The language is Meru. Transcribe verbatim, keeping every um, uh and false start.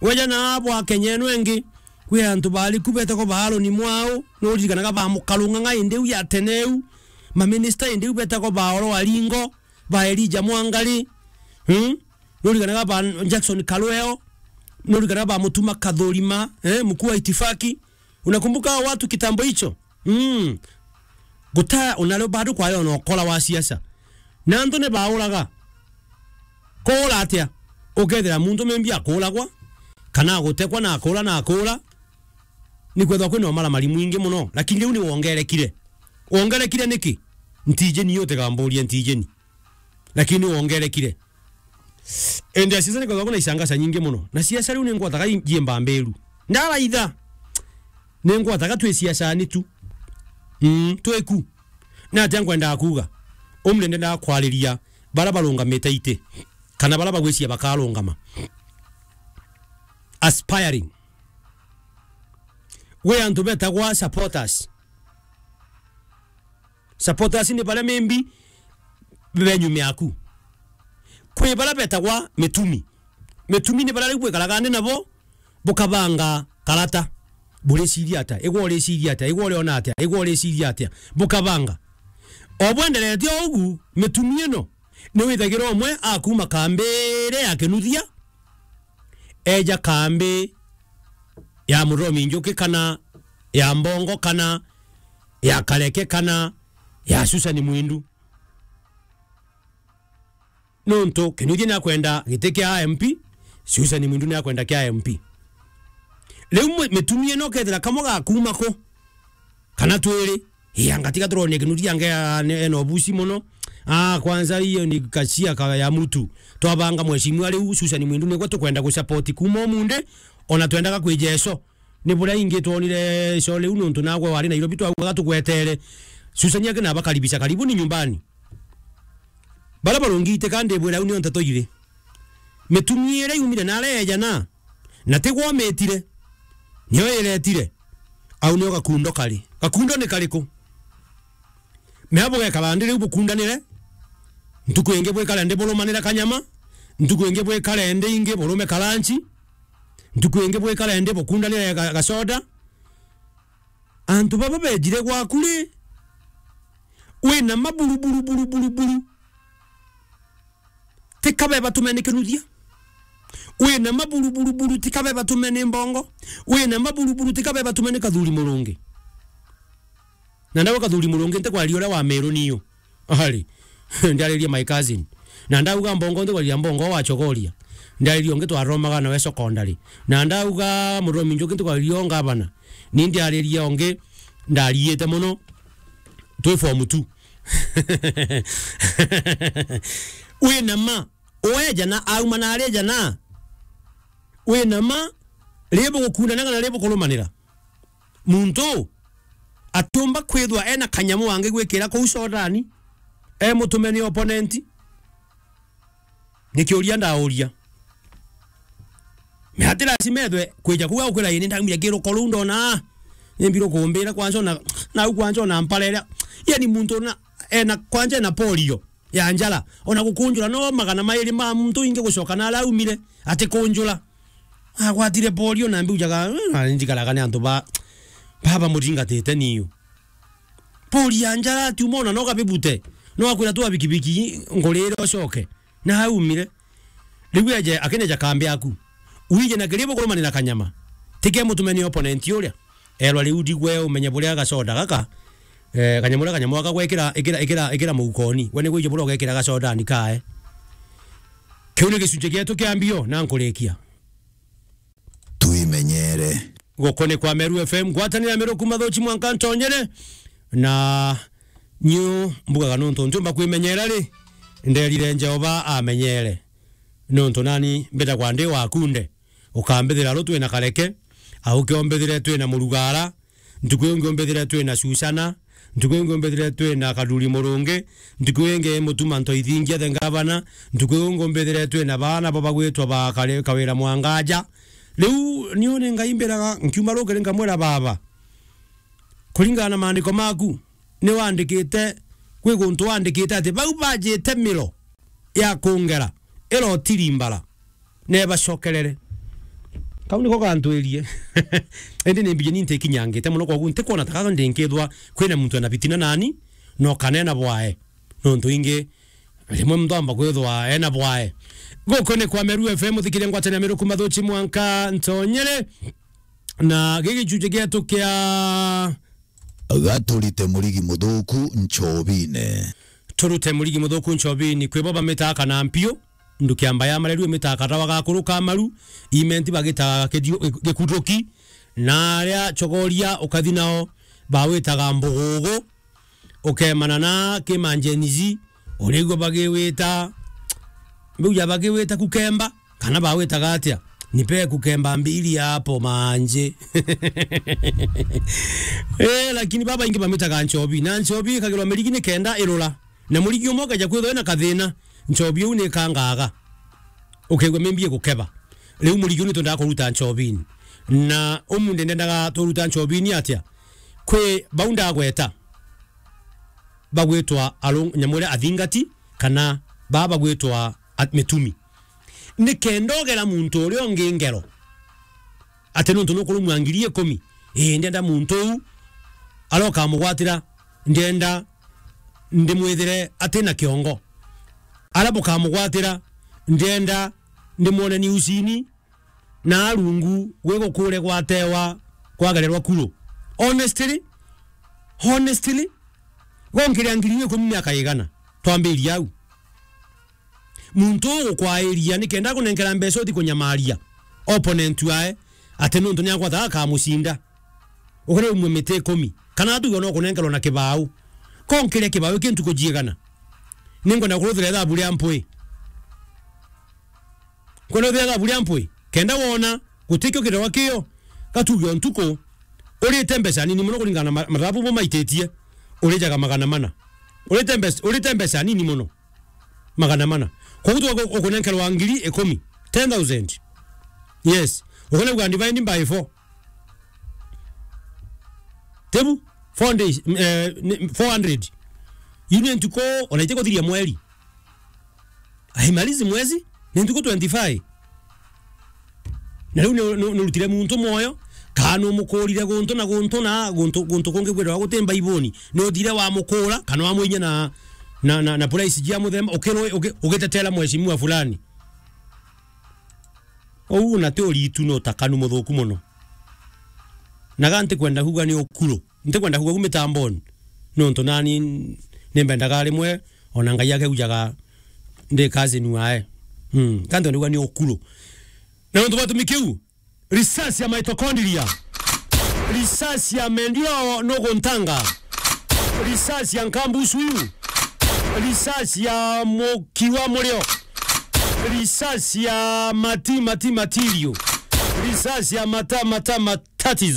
Weja na abo a Kenya eno engi, kwi antu bariku betagwa ba Aaron Mwau, nuririkanaga ba Mukarung'ang'a indi u ya tene u, maminista indi u betagwa ba Oro Aringo, ba Elijah Mwangari, hmm? Nuririkanaga ba Jackson Karweo, nuririkanaga ba Mutuma Kathurima, eh, mkuu wa itifaki. Unakumbuka hao watu kitambo hicho? Mm. Guta unalo bado kwa yo no kola wa siasa. Na antu ni bauraga. Kuura atia? Ukethira muntu maybe akuuragwa, kana agutekwa na akuura na akuura, ni kwethwa kwina umaramari mwingi muno. Lakini riu ni wongerekire. Wongerekire niki? Ntijeni, yo tigamburia ntijeni. Lakini wongerekire. Ende siasa ni kwethwa kwina icangaca nyingi muno. Na siasa riu ni ngwataga i-, njie mbambiru. Ndaraitha. Ni ngwataga twi siasani tu. Mm, twiku. Na atia nkwendaga kuuga? Umri ndendaga kwariria bara barungamite iti, kana bara bagwiciria bakarungama. Aspiring. Gwi antu betagwa supporters. Supporters ni baria maybe be nyuma yaku. Kwi baria betagwa mitumi. Mitumi ni baria riu bwikaraga ndi nabo, bukabanga karata. Buriciria atia? Igwe uriciria atia? Igwe uriona atia? Igwe uriciria atia? Bukabanga. O bwenderete o ugu, mitumi ino ni withagira umwe akuma kambi iria ya Kinuthia, eja kambi ya Muthomi Njuki, kana ya Mbongo, kana ya Kareke, kana ya Susan Mwindu. Nontu Kinuthia ni akwenda giti kia M P, Susan Mwindu ni akwenda kia M P. Riu mwe-, mitumi ino ukethira kamwe gakuma ku, kana twiri, ii, anga tiga turonie Kinuthia ange, a, ne-, ena ubusi muno. Ah, kwanza hiyo ni kasia ka ya mtu. Twabanga mheshimiwa riu Susan Mwindu nigwe tukwenda gusupport kuma umunthi, ona twendaga kwija ico. Ni buria ingi twonire ico riu nontu nagwe wari Nairobi twaugaga tugwetere. Susan aki na abakaribisha, karibuni nyumbani. Baria barungi iti ka ndibwira au nio nteto iri. Mitumi iria yumire na aria yejana, na tigwa omitire, nio iretire. Au nio gakundo kari. Gakundo ni kariku? Mea bugekara ndi riu bukundanire, ntuku ingi bwikare ndi burumanire kanyama, ntuku ingi bwikare ndi ingi burume karanchi, ntuku ingi bwikare ndi bukundanire ga-, gacoda. Antu baba bejire gwaku ri, wina maburu, buru, buru, buru, buru. Tika beba tumeni Kinuthia. Wina maburu, buru, buru, tika beba tumeni Mbongo. Wina maburu, buru, tika beba tumeni Kathuri Murungi. Na ndawe Kathuri Murungi ntikwaria uria wa Meru niyo. Ari, ndiaririe my cousin. Na ndauga Mbongo, ntikwaria Mbongo wa Chogoria. Ndiaririe ungi twaromaga nawe secondary. Na ndauga Muthomi Njuki, ntikwaria o ngavana. Ni ndiaririe ungi ndariite muno. Twi form two. Wina ma, weja na auma na areja na. Wina ma, ri bugukundana kana ri bukurumanira. Muntu atiumba kwithwa ena kanyamu angi gwikira kuu codani, e mutume ni opponent. Ni kiuria ndauria. Me ati lazima ethwe kwija kuu agukwira, "Ii, ni ndaumire kiruko ruu ndona, ni mbiru kumbira kwanza ona, nau kwanza ona mparere." Yani muntu na, ena, kwanza ena polio ya njara, ona gukunjura no magana mairi ma muntu ingi gucoka na araumire ati kunjura. Agwatire polio na mbiujaga, "Eh, na njikaraga ni antu ba, baba muringatite niu." Polio ya njara ati umona no kabibute. No akwira tu abikibiki ngurire ucoke. Na aumire. Riu eje, akineja kambi yaku. Uije na kiribu kurumanira kanyama. Tike mutume ni opponent uria. Erwa riu ndigwe umenye buria gacoda gaka, eh, kanyamu uria kanyamu gaka gwekira, ikira, ikira, ikira mukoni. We ni gwije buria ugekira gacodani kae. Kiu ni gicunji gietu kia mbio na nkurikia. Twimenyere. Guku ni kwa Meru F M, ngwatanira Meru kuma Thuchi mwanka Ntonyere. Na nyu mbugaga nontu ntiumba kwimenyera ri, nderire Jehova amenyere. Nontu nani mbitagwa ndi wa kunde. Ukambithira ru twina Kareke, au kiombithire twina Murugara, ntuku iu ingi umbithire twina Susana, ntuku iu ingi umbithire twina Kaduri Murungi, ntuku iu ingi Mutuma Ntoithingia the Ngavana, ntuku iu ingi umbithire twina baana bo bagwitwa ba Kare-, Kawira Mwangaja. Riu niu ni Ngai mbiraga, nkiuma rukiri nkamwira, "Baba, kuringana na maandiko maku, ni wandikite, kwi guntu wandikite ati bau bajite miro ya kungera, irotirimbara, nebacokerere." Kau niko gantwirie. Indi ni mbiji ni ntikinyangite mono, koguo ntikwona ta kaka ndinkithwa kwina muntu ena bitina nani, no kana ena bwae. Nontu ingi, rimwe muntu amba kwithwa ena bwae. Guku ni kwa Meru F M, uthikirie ngwataniro ya Meru kuma Thuchi mwanka Ntonyere. Na giki gichunji gietu kia Gaturite murigi muthuku nchobine. Turute murigi muthuku nchobini, kwi bo bamitaga kana mpiu, ndukiamba ya mareru imitaga katawa gakuru ka maru, imenti bagitaga kidio-, gikuruki, na aria chogoria ukathi nao bawitaga mbugugu, ukemana na kimanjenizi, urigua bagiwita, mbiu ya bagiwita kukemba. Kana bawitaga atia? Nipe kukemba mbili hapo manje. Eh, lakini babaingi bamitaga nchobi. Na nchobi ikagirwa mirigi ni kenda irura. Na murigi umwe ukeja kwithwa na kathina, nchobi iu ni ikangaga. Ukaigua mimbi igukeba. Riu murigi uu ni twendaga kuruta nchobini. Na umunthi ndendaga turuta nchobini atia? Kwi bau ndagweta. Bagwitwa arung-, nyamu iria athingati, kana baa bagwitwa at-, mitumi. Ni kenda ugera muntu uria ungi ngero, ati nontu nukurumwa ngiri ikumi, ii, ndienda muntu uu, aria ukamugwatira, ndienda ndimwithire ati na kiongo. Aria bukamugwatira, ndienda ndimwone ni usini, na rungu gwi gukure gwatewa kwagererwa kuro. Honestly, honestly, gonkiria ngiri ikumi miaka igana? Twambirie au. Muntu ugukwairia ni kenda akunenkera mbeca uthi kunyamaria opponent wae, ati nontu ni agwata akamucinda. Ukore umwe miti ikumi. Kana atuge no kunenkerwa na kibau. Konkiria kibau iki ntuku jiigana? Ninkwenda kuruthira ithabu ria mpwi. Kwenda uthia thabu ria mpwi, kenda wona gutikio kirwa kio, gatuge o ntuku, urite mbeca nini mono kuringana na ma-, mathabu bo maititie, urijaga magana mana. Urite mbeca, urite mbeca nini mono, magana mana. Koguo tu uku-, ukunenkerwa ngiri ikumi, ten thousand. Yes. Ukunenkerwa divide by four. Tebu, four days, eh, ni four hundred. Yu ni ntuku, ona itikuthiria mweri. Aimalizi mwezi, ni ntuku twenty-five. Na riu ni, ni, ni urutire muntu mwoyo, kana ni umukurire guntu na guntu na guntu, guntu kungi kwithirwa guti Mbaibuni. Ni uthire wamukura, kana wamwinyia na, na, na, na price jia muthemba, ukirwe, uki-, ugitetera mheshimiwa fulani. Uu na ti uritu, ni utakanu muthuku mono. Na ga ntikwenda kuuga ni ukuru. Ntikwenda kuuga ku mitamboni, nontu nani nimbendaga rimwe ona Ngai akeujaga ndi cousin wae. Mm, kantu ndauga ni ukuru. Na nontu bwa gitumi kiu, risasi ya mitochondria, risasi ya mendio nuguntanga, risasi ya nkambusu iu, risasi ya muki wa murio, risasi ya mati, mati, material, risasi ya mata, mata, matatizo.